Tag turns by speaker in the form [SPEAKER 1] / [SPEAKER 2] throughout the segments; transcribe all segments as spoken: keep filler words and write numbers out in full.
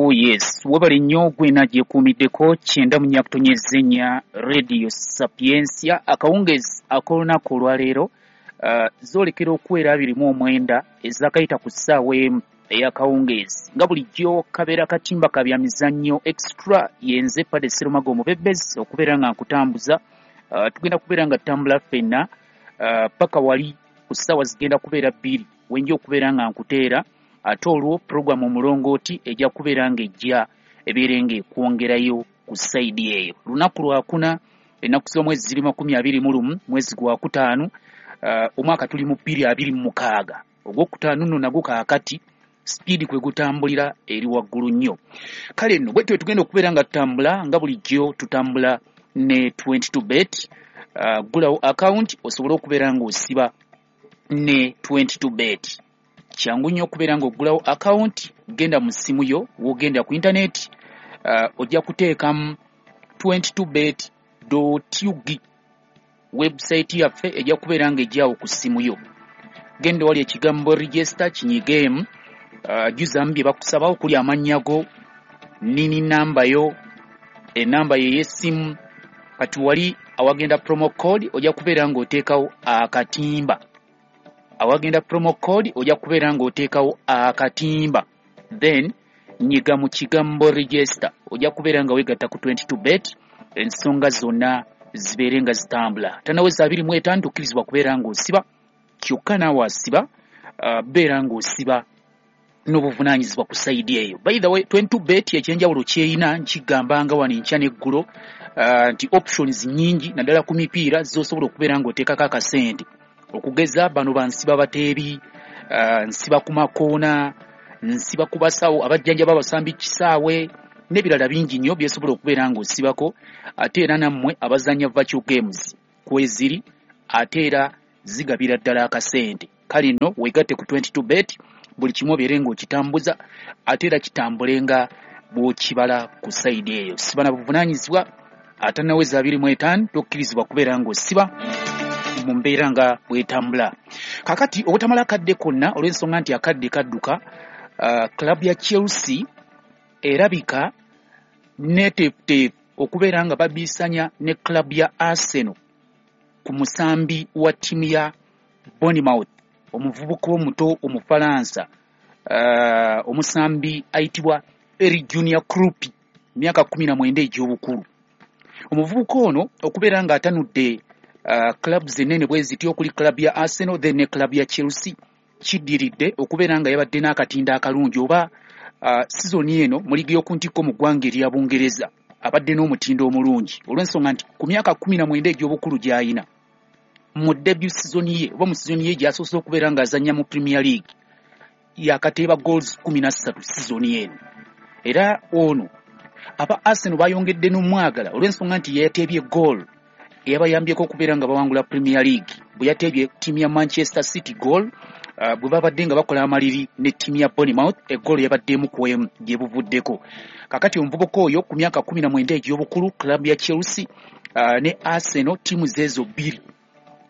[SPEAKER 1] Oh yes, webale nnyo gwena gyekuumiddeko kyenda mu nnya kutonyeza ennya Radio Sapientia. Akawungeezi ak'olunaku olwaleero uh, zoolekera okuwera abiri mu omwenda ezakayita ku ssaawa emu ey'akawungeezi. Nga bulijjo kabeera katimba ka bya mizannyo extra, yenze Pade Serumaga omubebbezi okubeera nga nkutambuza. Uh, tugenda kubeera nga tutambula ffenna uh, paka wali ku ssaawa zigenda kubeera bbiri wenja okubeera nga nkuteera, ate olwo puroguramu omulongooti ejja kubeera ng'ejja ebeere ng'ekwongerayo ku sayidi eyo. Lunaku lwakuna, ennaku z'omwezi ziri makumi abiri mu lumu, mwezi gwa kutaano, uh, omwaka tuli mu bbiri abiri mu mukaaga. Ogwokutaano nno nagwo kaakati sipiidi kwe gutambulira eri waggulu nnyo. Kale nno bwe tutyo tugenda okubeera nga tutambula nga bulijjo tutambula ne twenty-two bet. Uh, ggulawo akawunti osobole okubeera ng'osiba ne twenty-two bet. Kyangu nnyo okubeera ng'oggulawo akawunti, genda mu ssimu yo, w'ogenda ku intaneti, uh, ojja kuteekamu twenty-two bet dot U G. Website yaffe ejja kubeera ng'ejjawo ku ssimu yo. Genda wali ekigambo register kinyigeemu, uh, jjuzamu bye bakusaba okuli amannya go, nini namba yo, enamba ye ey'essimu. Kati wali awagenda promo code ojja kubeera ng'oteekawo akatimba. Awagenda promo code ojja kubeera ng'oteekawo akatimba, then nyiga mu kigambo register, ojja kubeera nga weegatta ku twenty-two bet, ensonga zonna zibeere nga zitambula. Tannaweza abiri mu etaano tokkirizibwa kubeera ng'osiba, kyokka naawe asiba, uh, beera ng'osiba n'obuvunaanyizibwa ku sayidi eyo. By the way, twenty-two bet ekyenjawulo kyeyina nkigambanga wano enkya n'eggulo, uh, nti options nnyingi naddala ku mipiira z'osobola okubeera ng'oteekako akasente. Okugeza bano bansiba bateebi, uh, nsiba ku makoona, nsiba ku basawo abajjanjaba abasambi kisaawe n'ebirala bingi nnyo by'osobola okubeera ng'osibako. Ate era nammwe abazannya virtual games kweziri, ate era zigabira ddala akasente. Kale nno weegatte ku twenty-two bet, buli kimu obeere ng'okitambuza, ate era kitambule nga bw'okibala ku sayidi eyo. Siba na buvunaanyizibwa, atannaweza abiri mu etaano tokkirizibwa kubeera ng'osiba mu mbeera nga bw'etambula. Kaakati obutamala akadde konna olw'ensonga nti akadde kadduka, uh, club ya Chelsea erabika neeteefuteefu okubeera nga babiisanya ne club ya Arsenal ku musambi wa ttiimu ya Bournemouth, omuvubuka omuto Omufalansa, uh, omusambi ayitibwa Eri Junior Kroupi, myaka kkumi na mwenda egy'obukulu. Omuvubuka ono okubeera ng'atanudde uh, clubs ennene bwe zityo okuli club ya Arsenal then ne club ya Chelsea, kiddiridde okubeera nga yabadde n'akatindo akalungi oba uh, sizoni eno mu liigi y'oku ntikko mu ggwanga erya Bungereza abadde n'omutindo omulungi olw'ensonga nti ku myaka kkumi na mwenda egy'obukulu gy'ayina mu debut season ye oba mu season ye gy'asoose okubeera ng'azannya mu Premier League yakateeba goals kkumi na ssatu season eno. Era ono aba Arsenal bayongedde n'omwagala olw'ensonga nti yeyateebye goal eyabayambyeko okubeera nga bawangula Premier League bwe yateebye ttiimu ya Manchester City goal, uh, bwe babadde nga bakola amaliri ne ttiimu ya Bournemouth, eggoolo yabadde emu ku emu gye buvuddeko. Kaakati omuvubuka oyo ku myaka kkumi na mwenda egy'obukulu, club ya Chelsea uh, ne Arsenal ttiimu zeezo bbiri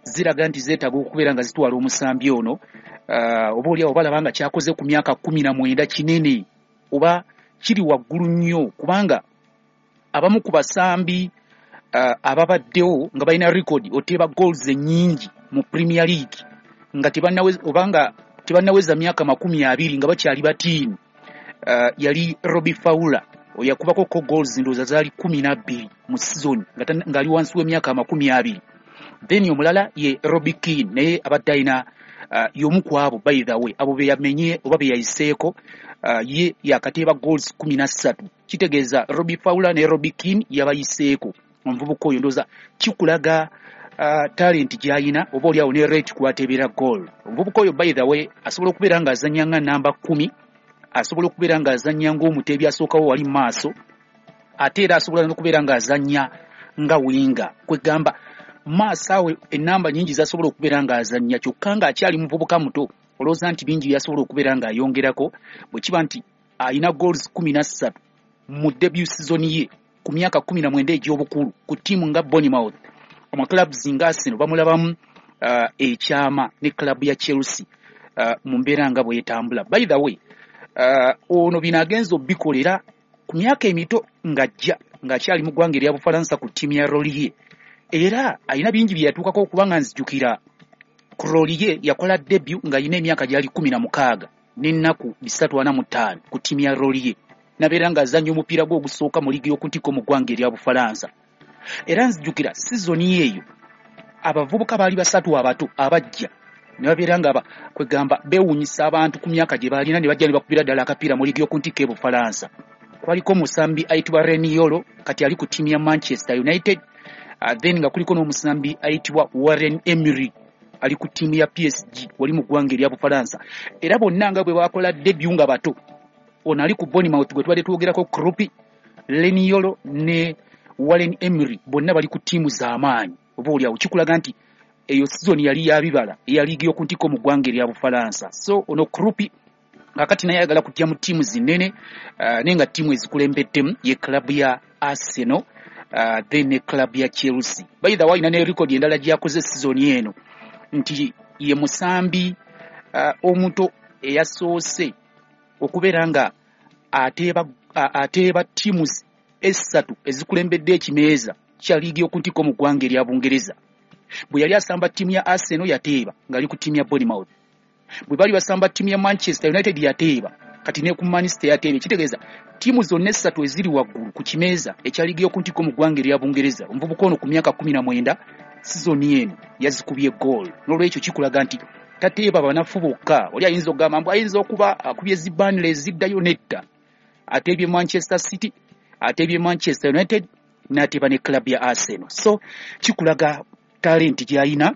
[SPEAKER 1] ziraga nti zeetaaga okubeera nga zitwala omusambi ono, uh, oba oliawo balaba nga kyakoze ku myaka kkumi na mwenda kinene oba kiri waggulu nnyo, kubanga abamu ku basambi uh, ababaddewo nga balina record oteeba goals ennyingi mu Premier League nga tebannaweza oba nga tebannaweza myaka makumi abiri nga bakyali batiini, uh, yali Robbie Fowler oyakubako ko goals ndowooza zaali kkumi na bbiri mu season ng'ali wansi w'emyaka amakumi abiri. Then omulala ye Robbie Keane, naye abadde alina uh, y'omu ku abo, by the way abo be yamenye oba be yayiseeko, uh, ye yakateeba goals kkumi na ssatu. Kitegeeza Robbie Fowler ne Robbie Keane yabayiseeko. Omuvubuka oyo ndowooza kikulaga uh, talent gy'ayina oba oliawo ne rate kw'ateebera goal. Omuvubuka oyo by the way asobola okubeera ng'azannya nga namba kkumi, asobola okubeera ng'azannya ng'omuteebi asookawo wali mu maaso, ate era asobola n'okubeera ng'azannya nga winga. Kwegamba maaso awo ennamba nnyingi z'asobola okubeera ng'azannya, kyokka ng'akyali muvubuka muto olowooza nti bingi by'asobola okubeera ng'ayongerako bwe kiba nti alina goals kkumi na ssatu mu debut season ye ku myaka kkumi na mwenda egy'obukulu ku ttiimu nga Bournemouth. Ama clubs nga Arsenal bamulabamu uh, ekyama ne club ya Chelsea uh, mu mbeera nga bw'etambula. By the way, Ono bino agenza obikolera ku myaka emito ng'ajja ng'akyali mu ggwanga erya Bufalansa ku ttiimu ya Lorient, era alina bingi bye yatuukako okubanga nzijukira ku Lorient yakola debut ng'alina emyaka gyali kkumi na mukaaga n'ennaku bisatu ana mu ttaano ku ttiimu ya Lorient, nabeera ng'azannya omupiira gwe ogusooka mu liigi y'oku ntikko mu ggwanga erya Bufalansa. Era nzijukira sizoni eyo abavubuka baali basatu abato abajja ne babeera nga kwegamba beewuunyisa abantu ku myaka gye baalina, ne bajja ne bakubira ddala akapiira mu liigi y'oku ntikko e Bufalansa. Kwaliko omusambi ayitibwa Leny Yoro, kati ali ku ttiimu ya Manchester United, uh, then nga kuliko n'omusambi ayitibwa Warren Emery ali ku ttiimu ya P S G wali mu ggwanga erya Bufalansa. Era bonna nga bwe bakola debut nga bato, ono ali ku Bournemouth gwe tubadde twogerako Kroupi, Leny Yoro ne Warren Emery, bonna bali ku ttiimu z'amaanyi. Oba oliawo kikulaga nti eyo sizoni yali yabibala eya liigi y'oku ntikko mu ggwanga erya Bufalansa. So ono Kroupi kakati naye ayagala kujja mu ttiimu zinene, uh, naye nga ttiimu ezikulembeddemu ye club ya Arsenal, uh, then ne club ya Chelsea. By the way, alina ne record endala gyakoze sizoni eno nti ye musambi uh, omuto eyasoose okubeera nga ateeba ateeba ttiimu essatu ezikulembedde ekimeeza kya liigi y'oku ntikko mu ggwanga erya Bungereza. Bwe yali asamba ttiimu ya Arsenal yateeba ng'ali ku ttiimu ya Bournemouth, bwe bali basamba ttiimu ya Manchester United yateeba, kati ne ku Manchester yateeba. Kitegeeza ttiimu zonna essatu eziri waggulu ku kimeeza ekya liigi y'oku ntikko mu ggwanga erya Bungereza, omuvubuka ono ku myaka kumi na mwenda sizoni eno yazikubye goal. N'olwekyo kikulaga nti tateeba banafu bokka. Oli ayinza okugamba mbu ayinza okuba akubye zi Burnley eziddayo, nedda, ateebye Manchester City, ateebye Manchester United, n'ateeba ne club ya Arsenal. So kikulaga talenti gy'alina,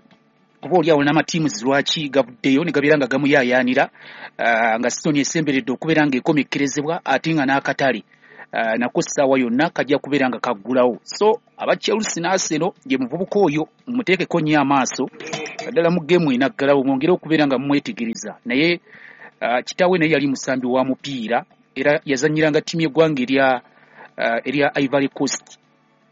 [SPEAKER 1] oba oli awo n'amatiimu lwaki gavuddeyo ne gabeera nga gamuyaayaanira, uh, nga sizoni esemberedde okubeera ng'ekomekkerezebwa, ate nga n'akatale uh, nako ssaawa yonna kajja kubeera nga kaggulawo. So aba Chelsea ne Arsenal, ye muvubuka oyo muteekeko nnyo amaaso ddala mu geemu enaggalawo, mwongere okubeera nga mumwetegereza. Naye uh, kitaawe naye yali musambi wa mupiira era yazannyiranga ttiimu y'eggwanga erya uh, erya Ivory Coast,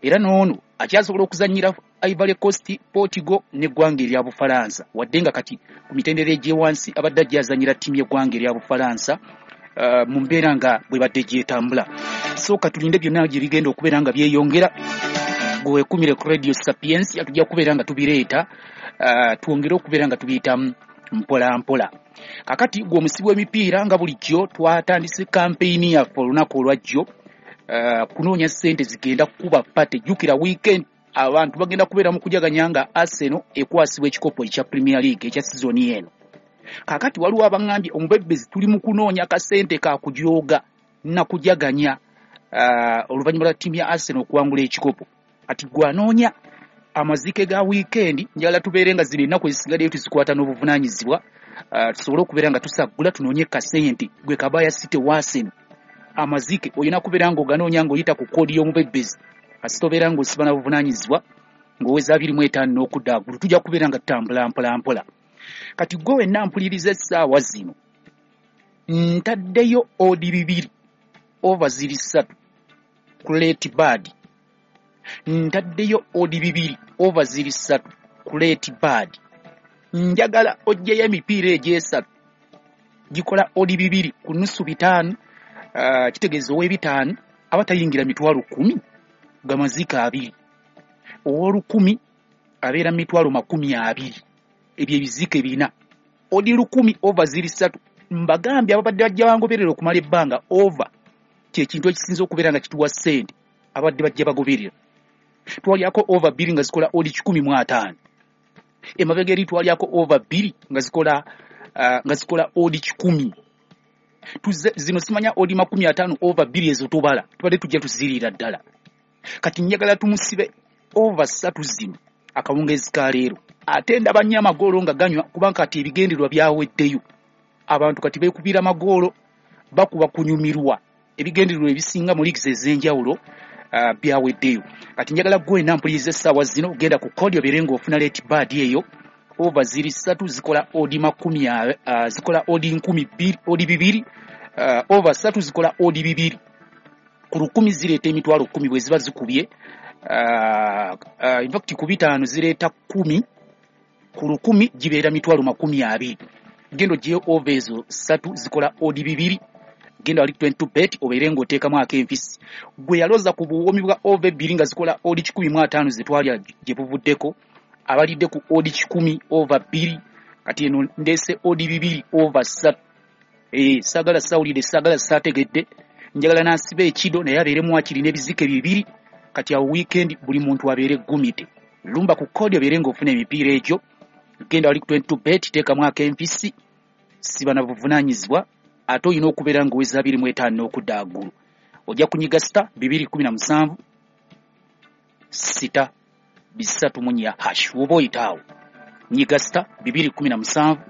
[SPEAKER 1] era n'ono akyasobola okuzannyira Ivory Coast, Portugal n'eggwanga erya Bufalansa, wadde nga kati ku mitendera egy'ewansi abadde ajja azannyira ttiimu y'eggwanga erya Bufalansa uh, mu mbeera nga bwe badde gyetambula. So katulinde byonna gye bigenda okubeera nga byeyongera. Gwekumire ku Radio Sapiens, tujja kubeera nga tubireeta, uh, twongere okubeera nga tubiyitamu mpola mpola. Kakati gwe omusibi w'emipiira, nga bulijjo twatandise kampeyini yaffe olunaku olwajjo, uh, kunoonya ssente zigenda kukuba party. Jjukira weekend abantu bagenda kubeera mu kujaganya nga Arsenal ekwasibwa ekikopo ekya Premier League ekya sizoni eno. Kakati waliwo abaŋŋambye omubebezi tuli mu kunoonya kasente ka kujooga na kujaganya uh, oluvannyuma lwa ttiimu ya Arsenal okuwangula ekikopo. Ati gwe anoonya amazike ga weekend, njagala tubeere nga zino ennaku ezisigaddeyo tuzikwata n'obuvunaanyizibwa, uh, tusobole okubeera nga tusaggula tunoonye kasente. Gwe kabaya City wa Arsenal, amazike olina kubeera ng'oganoonya ng'oyita ku koodi y'omubebezi. Kasita obeera ng'osiba na buvunaanyizibwa ng'oweza abiri mu etaano n'okudda waggulu, tujja kubeera nga tutambula mpola mpola. Kati gwe wenna mpuliriza essaawa zino, ntaddeyo odi bibiri over ziri ssatu ku late bird, ntaddeyo odi bibiri over ziri ssatu ku late bird. Njagala oggyeyo emipiira egyesatu gikola odi bibiri ku nusu bitaano, uh, kitegeeza ow'ebitaano aba tayingira mitwalo kkumi gamaziika abiri, ow'olukumi abeera mitwalo makumi abiri. Ebyo ebiziika ebina odi lukumi over ziri ssatu. Mbagambye ababadde bajja bangoberera okumala ebbanga, over kyekintu ekisinza okubeera nga kituwa ssente. Abadde bajja bagoberera, twalyako over bbiri nga zikola odi kikumi mu ataano. Emabega eri twalyako over bbiri nga zikola uh, nga zikola odi kikumi. Tuze, zino simanya odi makumi ataano over bbiri ezo tobala, tubadde tujja tuziriira ddala. Kati njagala tumusibe over ssatu zino akawungeezi ka leero. Ate ndaba nnyo amagoolo nga ganywa, kubanga kati ebigendererwa byaweddeyo, abantu kati beekubira amagoolo, bakuba kunyumirwa. Ebigendererwa ebisinga mu leagues ez'enjawulo uh, byaweddeyo. Kati njagala gwe nampuliriza essaawa zino, genda ku kodi obeere ng'ofuna late bird eyo over ziri ssatu zikola odi makumi uh, zikola odi nkumi bbiri, odi bibiri, uh, over ssatu zikola odi bibiri ku lukumi, zireeta emitwalo kkumi bwe ziba zikubye. uh, uh, in fact ku bitaano zireeta kkumi, ku lukumi gibeera mitwalo makumi abiri. Genda ogyeyo over ezo ssatu zikola odi bibiri. Genda wali twenty-two bet obeere ng'oteekamu ak'enfisi. Gwe yaloza ku buwoomi bwa over ebbiri nga zikola odi kikumi mu ataano ze twalya gye buvuddeko, abalidde ku odi kikumi over bbiri, kati eno ndeese odi bibiri over ssatu. Eh, saagala sawulire, saagala saategedde, njagala n'asiba ekido naye abeeremu wakiri n'ebizike bibiri. Kati awo weekend buli muntu abeere gumite. Lumba ku kodi obeere ng'ofuna emipiira egyo. Genda wali ku twenty-two bet, teekamu ak'enfisi, siba na buvunaanyizibwa, ate olina okubeera ng'oweza abiri mu etaano n'okudda waggulu. Ojja kunyiga sita bibiri kumi na musanvu sita bisatu mu nnya hash. Woba oyita awo nyiga sita bibiri kumi na musanvu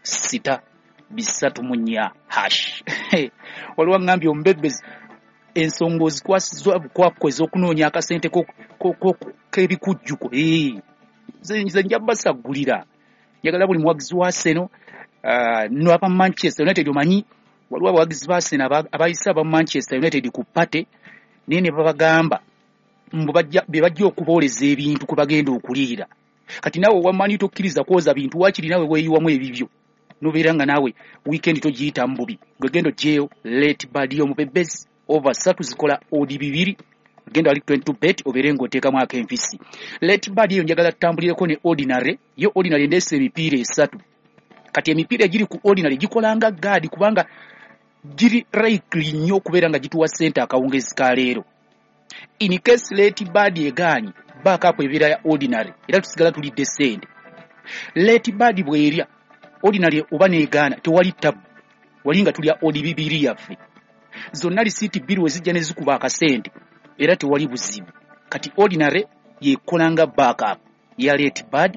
[SPEAKER 1] sita bisatu mu nnya hash. Waliwo aŋŋambye omubebbezi ensonga ozikwasizza bukwakku ez'okunoonya akasente k'ebikujjuko. Nze nja basaggulira, njagala buli muwagizi wa Arsenal n'aba Manchester United. Omanyi waliwo abawagizi ba Arsenal abayise aba Manchester United ku pate, naye ne babagamba mbu be bajja okubooleza ebintu kwe bagenda okuliira. Kati naawe owamanyi tokkiriza kwoza bintu, waakiri naawe weeyiwamu ebibyo nobeera nga naawe weekend togiyitamu bubi. Gwe genda oggyeyo late bad y'omubebezi over ssatu zikola odi bibiri. Genda wali twenty-two bet obeere ng'oteekamu ak'enfisi. Late bad eyo njagala tutambulireko ne ordinary. Yo ordinary ndeese emipiira esatu. Kati emipiira egiri ku ordinary gikola nga gaadi, kubanga giri likely nnyo okubeera nga gituwa ssente akawungezi ka leero. In case late bad egaanyi, backup ebeera ya ordinary, era tusigala tulidde ssente. Late bad bw'erya ordinary oba n'egaana, tewali tabu, wali nga tulya odi bibiri yaffe. Zonna lisiiti bbiri we zijja ne zikuba akasente, era tewali buzibu. Kati ordinary yekola nga backup ya late bad.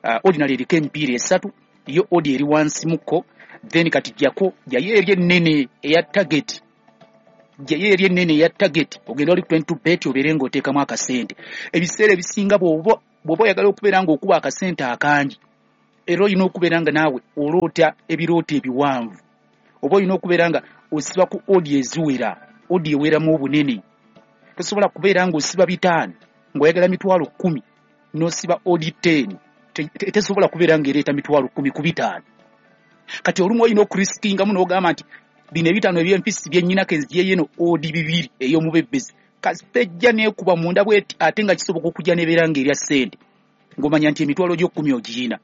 [SPEAKER 1] Uh, ordinary eriko emipiira esatu, yo odi eri wansi mukko. Then kati jjako jayo eri ennene eya target, jayo eri ennene eya target, ogenda oli ku twenty-two bet obeere ng'oteekamu akasente. Ebiseera ebisinga bw'oba bw'oba oyagala okubeera ng'okuba akasente akangi, era olina okubeera nga naawe oloota ebirooto ebiwanvu, oba olina okubeera nga osiba ku odi eziwera, odi eweramu obunene. Tosobola kubeera ng'osiba bitaano ng'oyagala mitwalo kkumi n'osiba odi ten, tesobola kubeera ng'ereeta mitwalo kkumi ku bitaano. Kati olumu olina okurisikingamu n'ogamba nti bino ebitaano eby'empisi bye nnyina ke nziggyeyo eno odi bibiri ey'omubebbezi, kasita ejja n'ekuba munda bw'eti, ate nga kisoboka okujja n'ebeera ng'erya ssente, ng'omanya nti emitwalo gyo kkumi ogiyina.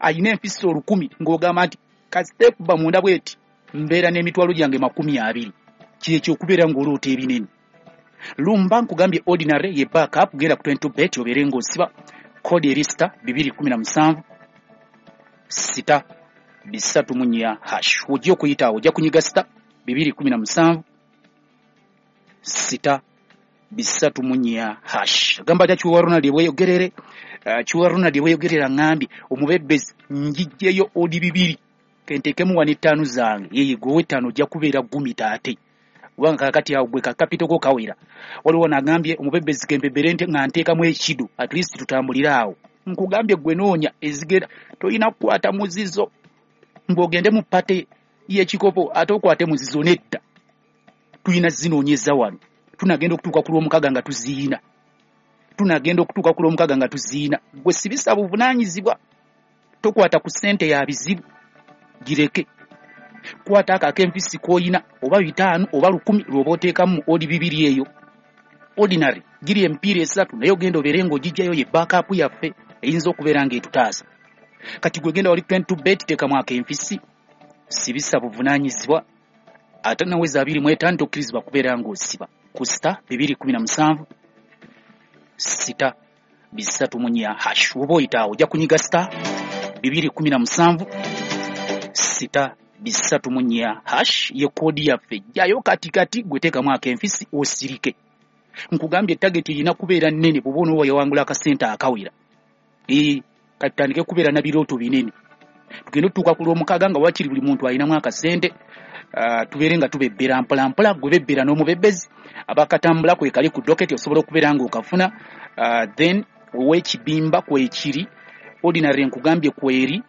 [SPEAKER 1] Ayina empisi olukumi ng'ogamba nti kasita ekuba munda bw'eti mbeera n'emitwalo gyange makumi abiri. Kyekyo okubeera ng'oloota ebinene. Lumba nkugambye ordinary ye backup, genda ku twenty-two bet obeere ng'osiba kodi eri sita bibiri kumi na musanvu sita bisatu mu nnya hash. Ojja okuyita awo ojja kunyiga sita bibiri kumi na musanvu sita bisatu mu nnya hash. Gamba atya Kiwa Ronald ebweyogerere? Uh, Kiwa Ronald ebweyogerera ŋŋambye omubebbezi njijjeyo odi bibiri kenteekemu wano ettaano zange. Yeye gwe ow'ettaano ojja kubeera gumita ate, kubanga kaakati awo gwe kakapito ko kawera. Waliwo n'agambye omubebbezi kempebbere nga nteekamu ekido, at least tutambulire awo. Nkugambye gwe noonya ezigenda, tolina kukwata muzizo ng'ogende mu pate y'ekikopo ate okwate muzizo, nedda. Tulina zinoonyeza wano, tunagenda okutuuka ku lw'omukaaga nga tuziina, tunagenda okutuuka ku lw'omukaaga nga tuziina. Gwe sibisa buvunaanyizibwa, tokwata ku ssente ya bizibu, gireke. Kwata ako ak'empisi k'oyina, oba bitaano oba lukumi lw'oba oteekamu odi bibiri eyo. Ordinary giri emipiira esatu, naye ogenda obeere ng'ogiggyayo ye backup yaffe eyinza okubeera ng'etutaasa. Kati gwe genda wali twenty-two bet, teekamu ak'empisi, sibisa buvunaanyizibwa, ate naweza abiri mu etaano tokkirizibwa kubeera ng'osiba ku sita bibiri kumi na musanvu sita bisatu mu nnya hash. Woba oyita awo ojja kunyiga sita bibiri kumi na musanvu sita bisatu mu nnya hash, ye koodi yaffe. Jjayo kati kati gwe teekamu ak'enfisi osirike. Nkugambye target erina kubeera nnene bw'oba onooba yawangula akasente akawera. Ee, kati tutandike kubeera na birooto binene, tugende otutuuka ku lw'omukaaga nga wakiri buli muntu alinamu akasente. Uh, tubeere nga tubebbera mpola mpola. Gwe bebbera n'omubebbezi abakatambula kwe kali ku doketi, osobola okubeera ng'okafuna. Uh, then ow'ekibimba kwekiri, ordinary nkugambye kweri,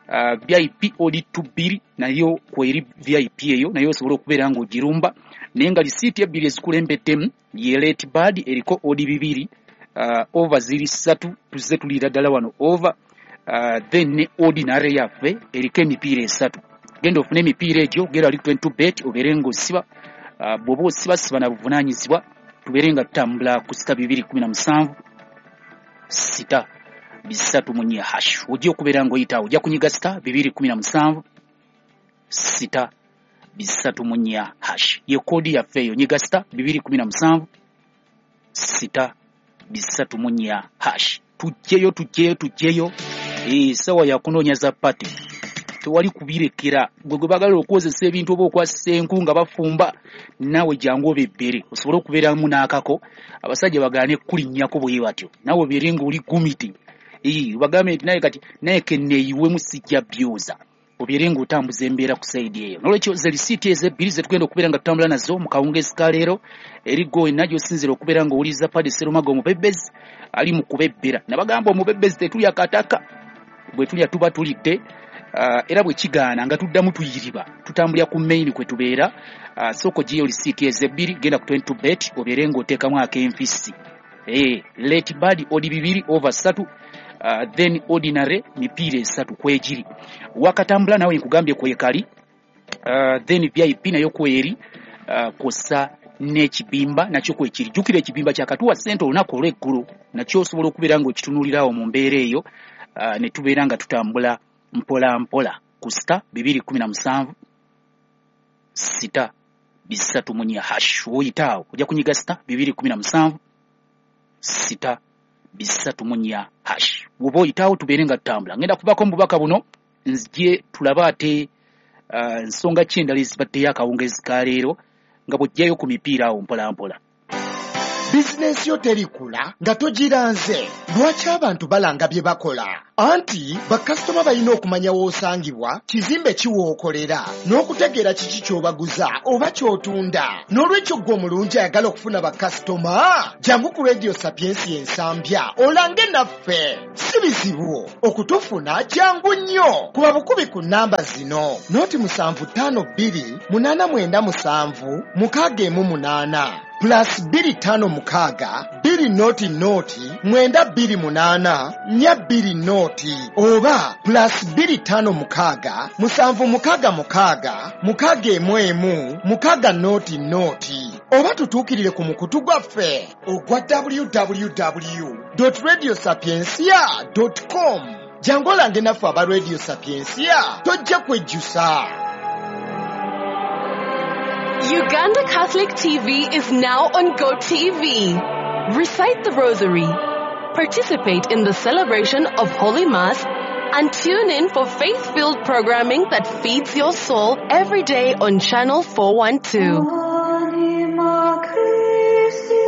[SPEAKER 1] uh, V I P odi bbiri nayo kweri V I P eyo nayo osobola okubeera ng'ogirumba. Naye nga lisiiti ebbiri ezikulembeddemu ye late bad eriko odi bibiri, uh, over ziri ssatu, tuzze tuliira ddala wano over. Uh, then ne ordinary yaffe eriko emipiira esatu. Genda ofune emipiira egyo, genda ali twenty-two bet obeere ng'osiba. Uh, bw'oba osiba siba na buvunaanyizibwa, tubeere nga tutambula ku sita bibiri kumi na musanvu sita bisatu mu nnya hash. Ojja okubeera ng'oyita awo, ojja kunyiga sita bibiri kumi na musanvu sita bisatu mu nnya hash. Ye koodi yaffe eyo, nyiga sita bibiri kumi na musanvu sita bisatu mu nnya hash. Tujjeyo tujjeyo tujjeyo, essaawa ya kunoonya za pate. Tewali kubirekera gwe gwe baagala okwozesa ebintu oba okwasisa enku nga bafumba, naawe jangu obebbere osobole okubeeramu n'akako. Abasajja bagaane kulinnyako bwe batyo, naawe obeere ng'oli gumiti. Ee, bagambe nti naye kati naye kenneeyiwemu sijja byoza, obeere ng'otambuza embeera ku sayidi eyo. N'olwekyo ze lisiiti ezo ebbiri ze tugenda okubeera nga tutambula nazo mu kawungeezi ka leero. Eri gwe wenna gy'osinziira okubeera ng'owuliriza Paddy Serumaga omubebbezi ali mu kubebbera. Nabagamba omubebbezi tetulya kataka, bwe tulya tuba tulidde. Uh, era bwe kigaana nga tuddamu tuyiriba, tutambulira ku main kwe tubeera. Uh, sooka oggyeyo lisiiti ezo ebbiri, genda ku twenty-two bet obeere ng'oteekamu ak'enfisi. Eh, late bird odi bibiri over ssatu, uh, then ordinary mipiira esatu kwegiri. Wakatambula nawe nkugambye kwekali, uh, then V I P nayo kweri, uh, kw'ossa n'ekibimba nakyo kwekiri. Jjukira ekibimba kyakatuwa ssente olunaku olw'eggulo, nakyo osobola okubeera ng'okitunuulirawo mu mbeera eyo, uh, ne tubeera nga tutambula mpola mpola ku sita bibiri kumi na musanvu sita bisatu mu nnya hash. Woyita awo ojja kunyiga sita bibiri kumi na musanvu sita bisatu mu nnya hash. Bw'oba oyitaawo tubeere nga tutambula. Ngenda kuvaako mu bubaka buno nzije tulabe ate uh, nsonga ki endala ezibaddeyo akawungeezi ka leero nga bw'ojjayo ku mipiira awo mpola mpola.
[SPEAKER 2] Bizinensi yo terikula nga togiranze. Lwaki abantu balanga bye bakola? Anti bakasitoma balina okumanya w'osangibwa, kizimbe ki w'okolera, n'okutegeera kiki ky'obaguza oba ky'otunda. N'olwekyo ggwe omulungi ayagala okufuna bakasitoma, jangu ku Radio Sapiensia Ensambya olange naffe. Si bizibu okutufuna, jangu nnyo. Kuba bukubi ku nnamba zino: noti musanvu ttaano bbiri munaana mwenda musanvu mukaaga emu munaana plus bbiri ttaano mukaaga bbiri noti noti mwenda bbiri munaana nnya bbiri noti oba plus bbiri ttaano mukaaga musanvu mukaaga mukaaga mukaaga emu emu mukaaga noti noti oba tutuukirire ku mukutu gwaffe ogwa w w w dot radio sapiensia dot com. Jangu olange naffe aba Radio Sapiensia, tojja kwejjusa.
[SPEAKER 3] Uganda Catholic T V is now on GoTV. Recite the Rosary, participate in the celebration of Holy Mass, and tune in for faith-filled programming that feeds your soul every day on Channel four one two.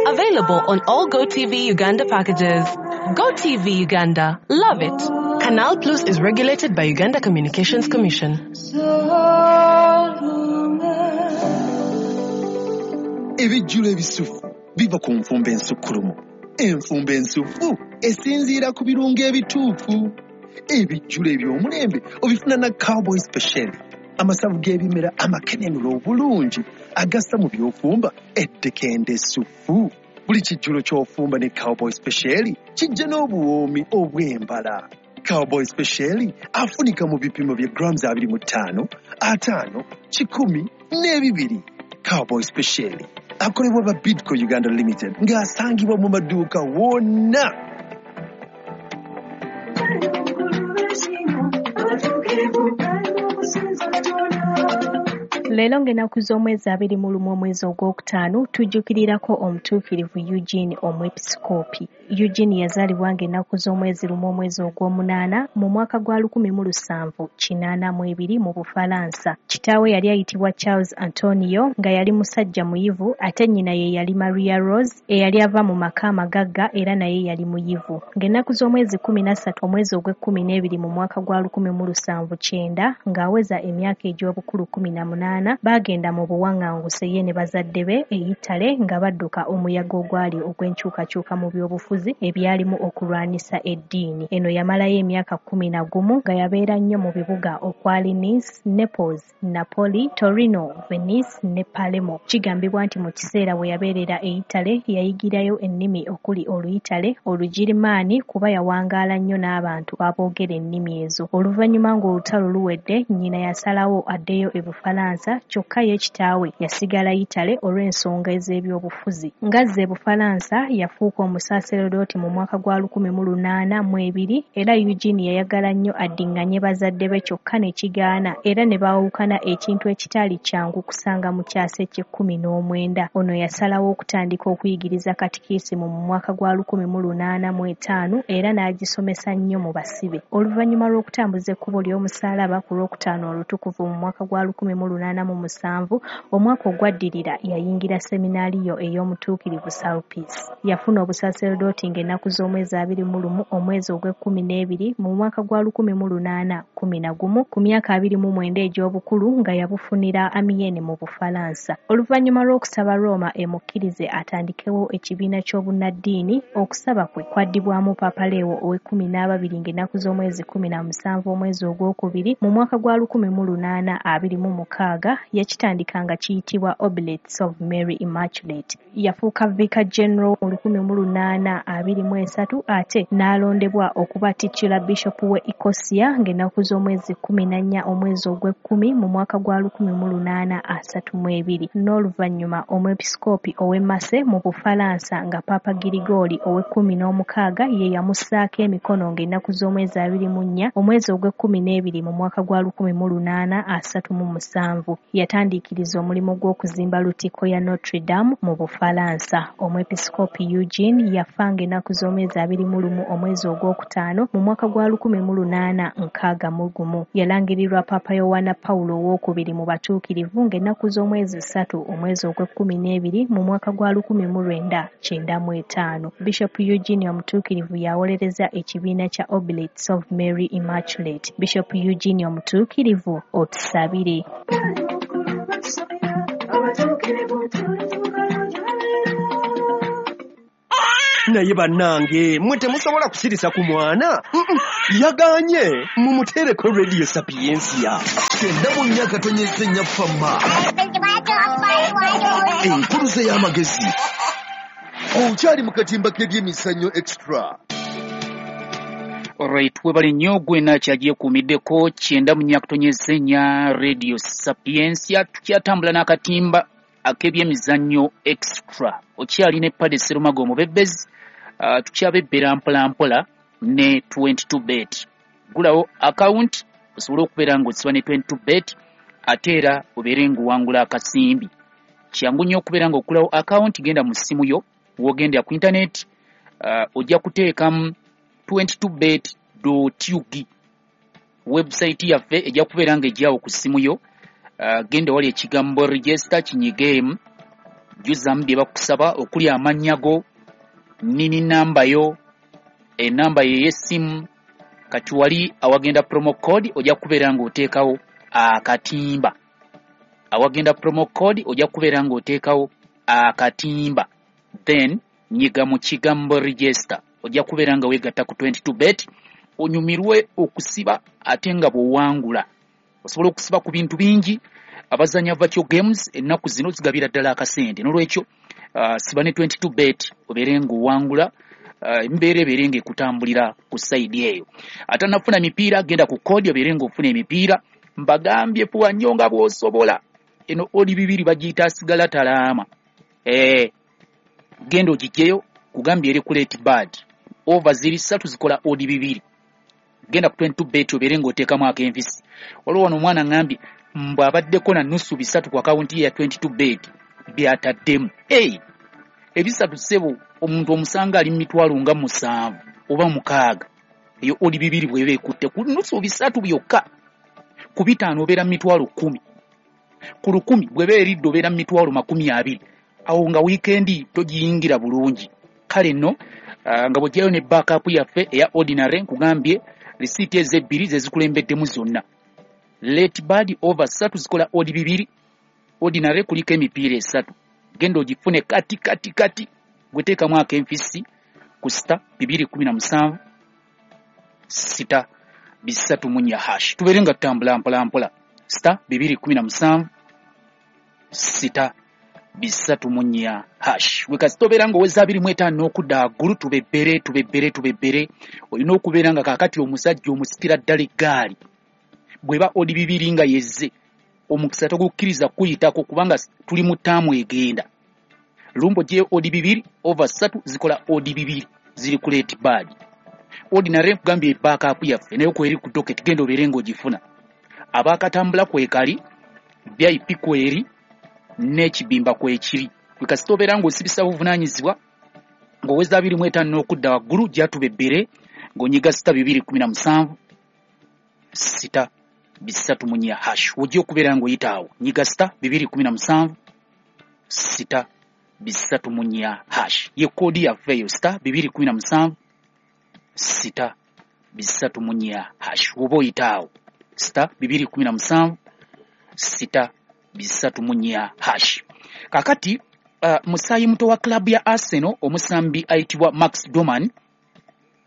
[SPEAKER 3] Available on all GoTV Uganda packages. GoTV Uganda. Love it. Canal Plus is regulated by Uganda Communications Commission.
[SPEAKER 4] Ebijjulo ebisufu biva ku nfumba ensukkulumu. Enfumba ensufu esinziira ku birungo ebituufu. Ebijjulo eby'omulembe obifuna na Cowboy Special, amasavu g'ebimera amakenenula obulungi agassa mu by'ofumba eddekende essufu. Buli kijjulo ky'ofumba ne Cowboy Special kijja n'obuwoomi obw'embala. Cowboy Special afunika mu bipimo bya grams abiri mu ttaano, ataano, kikumi n'ebibiri. Cowboy Special akolebwa ba Bidco Uganda Limited ng'asangibwa mu maduuka wonna.
[SPEAKER 5] Leero ng'ennaku z'omwezi abiri mu lumu omwezi ogwokutaano tujjukirirako omutuukirivu Eugene Omwepisikoopi. Eugene yazaalibwa ng'ennaku z'omwezi lumu omwezi ogw'omunaana mu mwaka gwa lukumi mu lusanvu kinaana mu ebiri mu Bufalansa. Kitaawe yali ayitibwa Charles Antonio nga yali musajja muyivu, ate nnyina ye yali Maria Rose eyali ava mu maka amagagga era naye yali muyivu. Ng'ennaku z'omwezi kkumi na ssatu omwezi ogw'ekkumi n'ebiri mu mwaka gwa lukumi mu lusanvu kyenda ng'aweza emyaka egy'obukulu kkumi na munaana, munaana baagenda mu buwaŋŋanguse ye ne bazadde be e Yitale nga badduka omuyaga ogwali ogw'enkyukakyuka mu byobufuzi ebyalimu okulwanisa eddiini. Eno yamalayo emyaka kkumi na gumu nga yabeera nnyo mu bibuga okwali Nice, Naples, Napoli, Torino, Venice ne Palermo. Kigambibwa nti mu kiseera we yabeerera e Yitale yayigirayo ennimi okuli Oluyitale, Olugirimaani kuba yawangaala nnyo n'abantu aboogera ennimi ezo. Oluvannyuma ng'olutalo luwedde, nnyina yasalawo addeyo e Bufalansa, kyokka ye kitaawe yasigala Yitale olw'ensonga ez'ebyobufuzi. Ng'azze e Bufalansa yafuuka omusaaseredooti mu mwaka gwa lukumi mu lunaana mu ebiri era Eugene yayagala nnyo addiŋŋanye bazadde be kyokka ne kigaana era ne baawukana, ekintu ekitaali kyangu kusanga mu kyasa eky'ekkumi n'omwenda. Ono yasalawo okutandika okuyigiriza katikisimu mu mwaka gwa lukumi mu lunaana mu etaano era n'agisomesa nnyo mu basibe. Oluvannyuma lw'okutambuza ekkubo ly'omusaalaba ku Lwokutaano Olutukuvu mu mwaka gwa lukumi mu lunaana mu musanvu, omwaka ogwaddirira yayingira seminaaliyo ey'omutuukirivu Sulpice. Yafuna obusaseredooti ng'ennaku z'omwezi abiri mu lumu omwezi ogw'ekkumi n'ebiri mu mwaka gwa lukumi mu lunaana kkumi na gumu ku myaka abiri mu mwenda egy'obukulu nga yabufunira Amiens mu Bufalansa. Oluvannyuma lw'okusaba Roma emukkirize atandikewo ekibiina ky'obunnaddiini, okusaba kwe kwaddibwamu Paapa Leo ow'ekkumi n'ababiri ng'ennaku z'omwezi kkumi na musanvu omwezi ogwokubiri mu mwaka gwa lukumi mu lunaana abiri mu mukaaga. Yakitandika nga kiyitibwa Oblates of Mary Immaculate. Yafuuka Vicar General mu lukumi mu lunaana abiri mu esatu ate n'alondebwa okuba titular bishop w'e Ecosia ng'ennaku z'omwezi kkumi na nnya omwezi ogw'ekkumi mu mwaka gwa lukumi mu lunaana asatu mu ebiri. N'oluvannyuma omwepisikoopi ow'e Marseille mu Bufalansa nga Paapa Girigoli ow'ekkumi n'omukaaga ye yamussaako emikono ng'ennaku z'omwezi abiri mu nnya omwezi ogw'ekkumi n'ebiri mu mwaka gwa lukumi mu lunaana asatu mu musanvu. Yatandiikiriza omulimu gw'okuzimba Lutikko ya Notre Dame mu Bufalansa. Omwepisikoopi Eugene yafa ng'ennaku z'omwezi abiri mu lumu omwezi ogwokutaano mu mwaka gwa lukumi mu lunaana nkaaga mu gumu. Yalangirirwa Paapa Yowaana Pawulo owookubiri mu batuukirivu ng'ennaku z'omwezi ssatu omwezi ogw'ekkumi n'ebiri mu mwaka gwa lukumi mu lwenda kyenda mu etaano. Bishop Eugene omutuukirivu yawolereza ekibiina kya Oblates of Mary Immaculate. Bishop Eugene omutuukirivu, otusabire.
[SPEAKER 4] Naye bannange mmwe temusobola kusirisa ku mwana. Yaganye mumuteereko Radio Sapiensia
[SPEAKER 6] kyenda mu nnya akatonyeze nnya fama enkuluze y'amagezi. Okyali mu katimba k'ebyemizannyo Extra.
[SPEAKER 1] Alright, webale nnyo gwena kyagyekuumiddeko kyenda mu nnya akatonyeze nnya Radio Sapiensia. Tukyatambula n'akatimba ak'ebyemizannyo Extra. Okyalina epade Serumago omubebezi, uh, tukyabebbera mpola mpola ne twenty-two bet. Gulawo account osobole okubeera ng'osiba ne twenty-two bet ate era obeere ng'owangula akasimbi. Kyangu nnyo okubeera ng'okulawo account, genda mu ssimu yo w'ogendera ku internet, uh, ojja kuteekamu twenty-two bet dot U G. Website yaffe ejja kubeera ng'ejjawo ku ssimu yo. Uh, genda wali ekigambo register kinyigeemu, jjuzamu bye bakusaba okuli amannya go, nini namba yo, enamba ye y'essimu. Kati wali awagenda promo code ojja kubeera ng'oteekawo akatimba. Awagenda promo code ojja kubeera ng'oteekawo akatimba, then nyiga mu kigambo register, ojja kubeera nga weegatta ku twenty-two bet onyumirwe okusiba ate nga bw'owangula. Osobola okusiba ku bintu bingi. Abazanya virtual games ennaku zino zigabira ddala akasente, n'olwekyo uh, siba ne twenty-two bet obeere ng'owangula, embeera uh, ebeere ng'ekutambulira ku sayidi eyo. Atannafuna mipiira genda ku kodi obeere ng'ofuna emipiira. Mbagambye fuwa nnyo nga bw'osobola. Eno oli bibiri bagiyita asigala talaama. Eh, genda ogiggyeyo, kugambye eri ku late bird. Over ziri ssatu zikola odi bibiri. Genda ku twenty-two bet obeere ng'oteekamu ak'envisi. Waliwo wano omwana ŋŋambye mbu abaddeko na nusu bisatu ku akawunti ye ya twenty-two bet by'ataddemu. Hey, ebisatu ssebo omuntu omusanga ali mu mitwalo nga musanvu oba mukaaga. Eyo odi bibiri bw'eba ekutte ku nusu bisatu byokka. Ku bitaano obeera mu mitwalo kkumi. Ku lukumi bw'eba eridde obeera mu mitwalo makumi abiri. Awo nga wiikendi togiyingira bulungi. Kale nno uh, nga bw'oggyayo ne backup yaffe eya ordinary, nkugambye risiiti ezo ebbiri ze zikulembeddemu zonna. Late bird over ssatu zikola odi bibiri. Ordinary kuliko emipiira esatu, genda ogifune kati kati kati, gweteekamu akenfisi ku sita bibiri kumi na musanvu sita bisatu mu nnya hash. Tubeere nga tutambula mpola mpola. Sita bibiri kumi na musanvu sita bisatu mu nnya hash. Gwe kasita obeera ng'oweza abiri mu etaano n'okudda waggulu, tubebbere tubebbere tubebbere. Olina okubeera nga kaakati omusajja omusikira ddala eggaali bw'eba odi bibiri nga yezze, omukisa togukkiriza kuyitako kubanga tuli mu ttaamu egenda. Lumbo gye odi bibiri over ssatu zikola odi bibiri ziri ku late bad. Ordinary nkugambye backup yaffe naye kweri ku docket, genda obeere ng'ogifuna. Abaakatambula kwekali, V I P kweri, n'ekibimba kwekiri. Gwe kasita obeera ng'osibisa buvunaanyizibwa ng'oweza abiri mu etaano n'okudda waggulu, gyatubebbere ng'onyiga sita bibiri kumi na musanvu sita bisatu mu nnya hash. Ojja okubeera ng'oyita awo, nyiga sita bibiri kumi na musanvu sita bisatu mu nnya hash. Ye koodi yaffe eyo, sita bibiri kumi na musanvu sita bisatu mu nnya hash. Oba oyita awo, sita bibiri kumi na musanvu sita bisatu mu nnya hash. Kaakati uh, musaayi muto wa club ya Arsenal omusambi ayitibwa Max Doman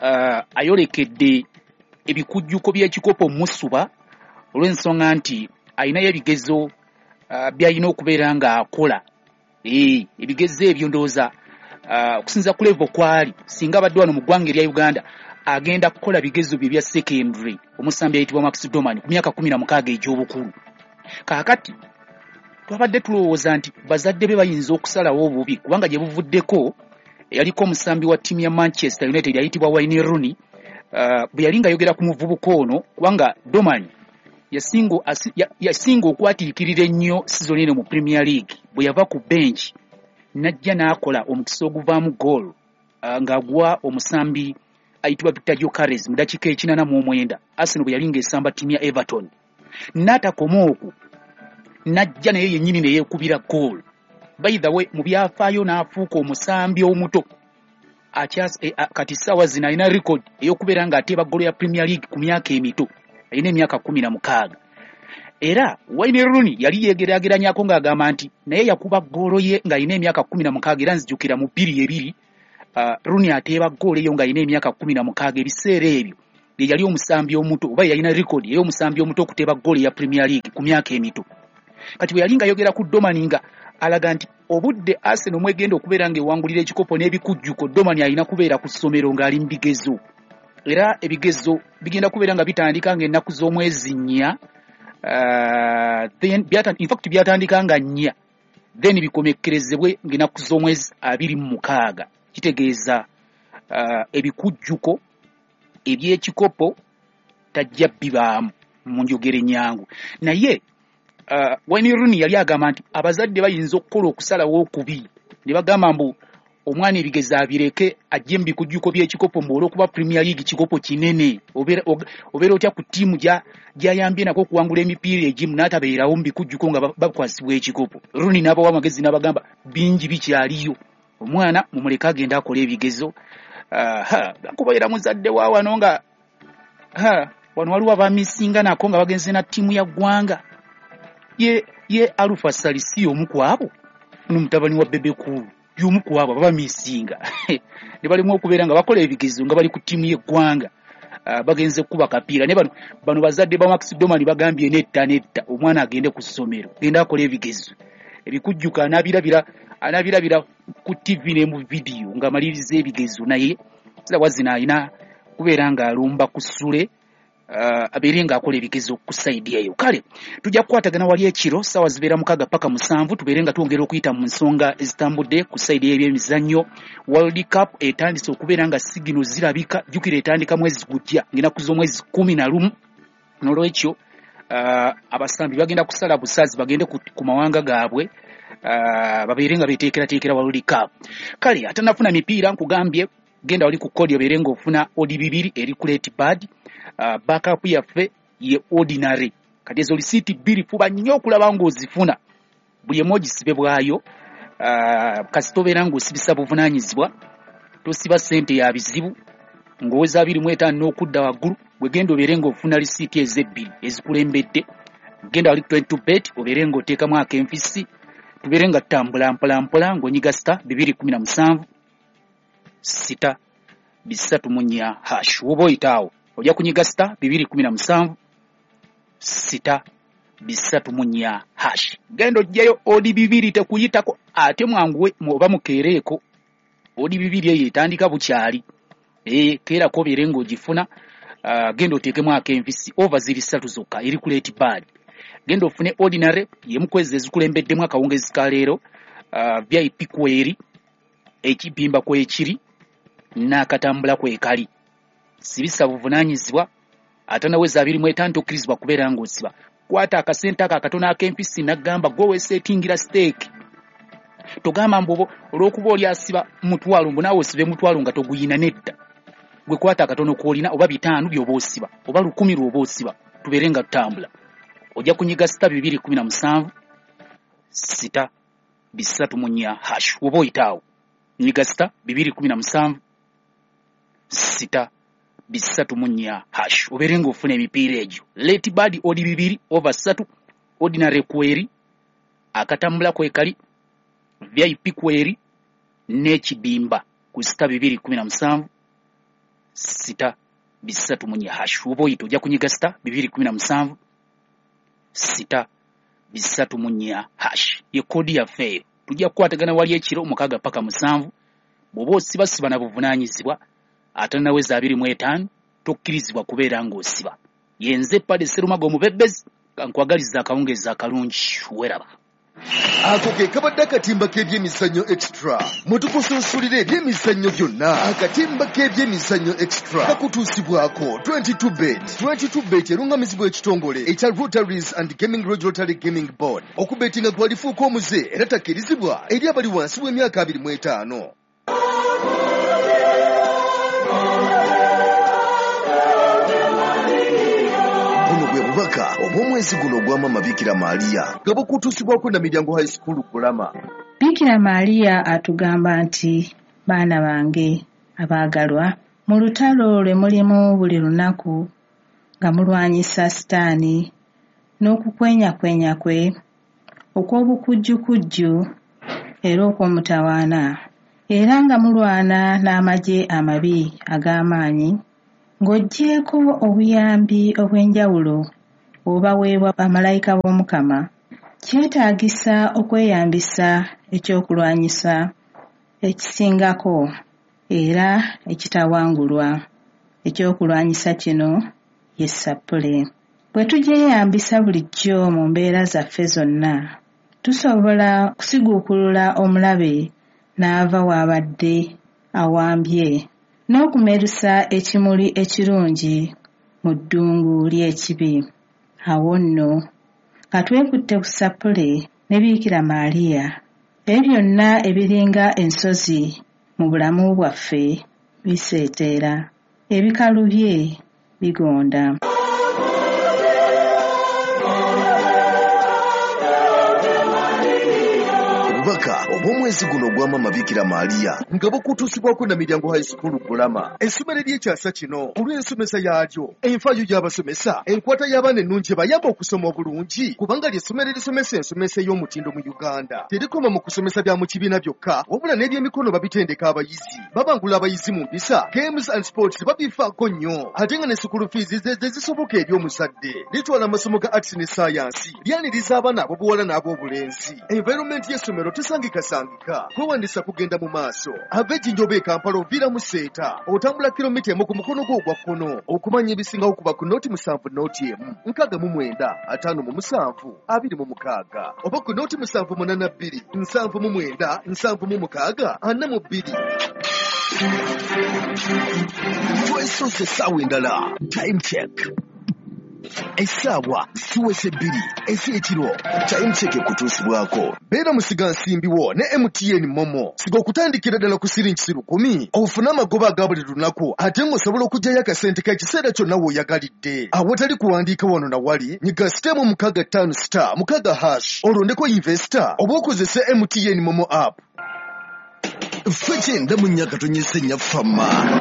[SPEAKER 1] uh, ayolekedde ebikujjuko by'ekikopo musuba olw'ensonga nti alinayo ebigezo uh, by'alina okubeera ng'akola. Eh, ebigezo ebyo ndowooza uh, okusinziira ku level kwali, singa abadde wano mu ggwanga erya Uganda agenda kukola bigezo bye bya secondary, omusambi ayitibwa Max Doman ku myaka kumi na mukaaga egy'obukulu. Kaakati twabadde tulowooza nti bazadde be bayinza okusalawo obubi kubanga gye buvuddeko yaliko omusambi wa ttiimu ya Manchester United ayitibwa Wayne Rooney uh, bwe yali ng'ayogera ku muvubuka ono, kubanga Doman yasinga yasinga okwatiikirira ennyo season eno mu Premier League. Bwe yava ku bench n'ajja n'akola omukisa oguvaamu goal uh, ng'agwa omusambi ayitibwa Victor Gyökeres mu dakiika ekinana mu omwenda, Arsenal bwe yali ng'esamba ttiimu ya Everton. N'atakoma okwo, n'ajja naye yennyini ne yeekubira goal. By the way, mu byafaayo n'afuuka omusambi omuto akyas e, a, kati ssaawa zino alina record ey'okubeera ng'ateeba goal ya Premier League ku myaka emito, alina emyaka kumi na mukaaga. Era Wayne Rooney yali yeegeraageranyako ng'agamba nti naye yakuba ggoolo ye ng'alina emyaka kumi na mukaaga, era nzijukira mu bbiri ebiri uh, Rooney ateeba ggoolo eyo ng'alina emyaka kumi na mukaaga. Ebiseera ebyo ye yali omusambi omuto oba yalina record ey'omusambi omuto okuteeba ggoolo ya Premier League ku myaka emito. Kati bwe yali ng'ayogera ku Doman nga alaga nti obudde Arsenal mwegenda okubeera ng'ewangulira ekikopo n'ebikujjuko, Doman alina kubeera ku ssomero ng'ali mu bigezo. Era ebigezo bigenda kubeera nga bitandika ng'ennaku z'omwezi nnya, uh, then byata, in fact byatandika nga nnya, then bikomekkerezebwe ng'ennaku z'omwezi abiri mu mukaaga. Kitegeeza uh, ebikujjuko eby'ekikopo tajja bibaamu mu njogera ennyangu. Naye Uh, Wayne Rooney yali agamba nti abazadde bayinza okukola okusalawo okubi ne bagamba mbu omwana ebigezo abireke ajje mu bikujjuko by'ekikopo, mbu olw'okuba Premier League kikopo kinene, obeera obeera otya ku ttiimu gy'ayambye nako okuwangula emipiira egimu n'atabeerawo mu bikujjuko nga bakwasibwa ekikopo. Rooney n'abawa amagezi n'abagamba bingi bikyaliyo, omwana mumuleke agende akole ebigezo. Uh, kubeera muzadde wa wano nga ha, wano waliwo abamisinga nako nga bagenze na ttiimu ya ggwanga. Ye ye Alpha Salisi omu ku abo, ono mutabani wa Bebe Cool y'omu ku abo abamisinga ne balimu okubeera nga bakola ebigezo nga bali ku ttiimu y'eggwanga, uh, bagenze kukuba kapiira. Ne bano bano bazadde ba Max Doman bagambye netta netta omwana agende ku ssomero, genda akole ebigezo ebikujjuka, anaabirabira anaabirabira ku T V ne mu vidiyo ng'amaliriza ebigezo. Naye saawa zino alina kubeera ng'alumba ku ssule, Uh, abeere ng'akola ebigezo ku sayidi eyo. Kale tujja kukwatagana wali ekiro ssaawa zibeera mukaaga paka musanvu, tubeere nga twongera okuyita mu nsonga ezitambudde ku sayidi y'ebyemizannyo. World Cup etandise okubeera nga sigino zirabika, jjukira etandika mwezi gujja ng'ennaku z'omwezi kumi na lumu. N'olwekyo uh, abasambi bagenda kusala busazi bagende ku, ku mawanga gaabwe, uh, babeere nga beeteekerateekera World Cup. Kale atanafuna mipiira nkugambye genda wali ku kodi obeere ng'ofuna odi bibiri eri ku late bad. Uh, backup yaffe ye ordinary. Kati ezo lisiiti bbiri fuba nnyo okulaba ng'ozifuna, buli emu ogisibe bwayo. Uh, kasita obeera ng'osibisa buvunaanyizibwa, tosiba ssente ya bizibu, ng'oweza abiri mu etaano n'okudda waggulu, bwe genda obeere ng'ofuna lisiiti ezebbiri ezikulembedde, Genda wali twenty-two bet obeere ng'oteekamu akenfisi, tubeere nga tutambula mpola mpola ng'onyiga star bibiri kumi na musanvu sita bisatu mu nnya hash. Woba oyita awo ojja kunyiga star bibiri kumi na musanvu sita bisatu mu nnya hash. Genda ojjayo odi bibiri tekuyitako, ate mwanguwe oba mukeereeko. Odi bibiri eyo etandika bukyali, ee keerako obeere ng'ogifuna. Uh, genda oteekemu akenfisi, over ziri ssatu zokka eri ku late bad. Genda ofune ordinary yemu kwezi ezikulembeddemu akawungezi ka leero, uh, V I P kweri, ekibimba kwekiri n'akatambula kwekali. Sibisa buvunaanyizibwa atanaweza abiri mu etaano tokkirizibwa kubeera ng'osiba. Kwata akasente ako akatono ak'empisi n'agamba gwe weeseetingira steeki. Togamba mbu olw'okuba oli asiba mutwalo mbu naawe osibe mutwalo nga toguyina, nedda. Gwe kwata akatono k'olina oba bitaano by'oba osiba oba lukumi lw'oba osiba, tubeere nga tutambula. Ojja kunyiga sita bibiri kumi na musanvu sita bisatu mu nnya hash. Woba oyita awo nyiga sita bibiri kumi na musanvu sita bisatu mu nnya hash, obeere ng'ofuna emipiira egyo. Late bad odi bibiri over ssatu, ordinary kweri, akatambula kwekali, V I P kweri n'ekibimba ku sita bibiri kumi na musanvu sita bisatu mu nnya hash. Woba oyita ojja kunyiga sita bibiri kumi na musanvu sita bisatu mu nnya hash. Ye koodi yaffe eyo. Tujja kukwatagana wali ekiro mukaaga paka musanvu. Bw'oba osibasiba na buvunaanyizibwa atanaweza abiri mu etaano tokkirizibwa kubeera ng'osiba. Yenze Padre Serumaga omubebbezi, kankwagaliza akawungeezi akalungi, weeraba.
[SPEAKER 6] Ako ke kabadde akatimba k'ebyemizannyo extra. Mwe tukusunsulira ebyemizannyo byonna. Akatimba k'ebyemizannyo extra kakutuusibwako twenty-two bet. twenty-two bet erungamizibwa ekitongole ekya Rotaries and Gaming Regulatory Gaming Board. Okubetinga kwalifuuka omuze era takkirizibwa eri abali wansi w'emyaka abiri mu etaano. Bubaka obw'omwezi guno ogwa Maama Bikira Maria nga bukutuusibwako na Miryango High School Kulama.
[SPEAKER 7] Bikira Maria atugamba nti, baana bange abaagalwa, mu lutalo lwe mulimu buli lunaku nga mulwanyisa Sitaani n'okukwenyakwenya kwe okw'obukujjukujju era okw'omutawaana, era nga mulwana n'amagye amabi ag'amaanyi, ng'oggyeeko obuyambi obw'enjawulo obubaweebwa bamalayika b'Omukama, kyetaagisa okweyambisa ekyokulwanyisa ekisingako era ekitawangulwa. Ekyokulwanyisa kino ye ssappule. Bwe tugyeyambisa bulijjo mu mbeera zaffe zonna, tusobola kusiguukulula omulabe n'ava w'abadde awambye n'okumerusa ekimuli ekirungi mu ddungu ly'ekibi. Awo nno nga twekutte ku ssappule ne Bikira Maria, ebyo byonna ebiringa ensozi mu bulamu bwaffe biseeteera, ebikalu bye bigonda.
[SPEAKER 6] Obubaka obw'omwezi guno ogwa Maama Bikira Maria nga bukutuusibwako na Miryango High School Kulama, essomero ery'ekyasa kino olw'ensomesa yaalyo, enfaayo y'abasomesa, enkwata y'abaana ennungi ebayamba okusoma obulungi, kubanga ly'essomero erisomesa ensomesa ey'omutindo mu Uganda. Terikoma mu kusomesa bya mu kibiina byokka, wabula n'ebyemikono babitendeka abayizi, babangula abayizi mu mpisa, games and sports babifaako nnyo, ate nga ne school fees ze zisoboka eri omuzadde. Litwala amasomo ga arts ne science, lyaniriza abaana ab'obuwala n'ab'obulenzi. Environment y'essomero tesangikasangika. Kwewandisa kugenda mu maaso. Ava Ejjinja oba e Kampala oviira mu Seeta, otambula kilomita emu ku mukono gwo ogwa kkono. Okumanya ebisingawo kuba ku nooti musanvu nooti emu nkaaga mu mwenda ataano mu musanvu abiri mu mukaaga oba ku nooti musanvu munaana bbiri nsanvu mu mwenda nsanvu mu mukaaga ana mu bbiri.
[SPEAKER 8] Twesoose essaawa endala. Time check. Essaawa ziweze bbiri ez'ekiro. Time check ekutuusibwako.
[SPEAKER 6] Beera musigansimbi wo ne M T N Momo. Siga okutandikira ddala ku siringi lukumi ofune amagoba aga buli lunaku, ate ng'osobola okuggyayo akasente k'ekiseera kyonna w'oyagalidde. Awatali kuwandiika wano na wali, nyiga star mu mukaaga ttaano star mukaaga hash olondeko investor oba okozese M T N Momo app.
[SPEAKER 8] Ffe kyenda mu nnya katonyese nnya fama.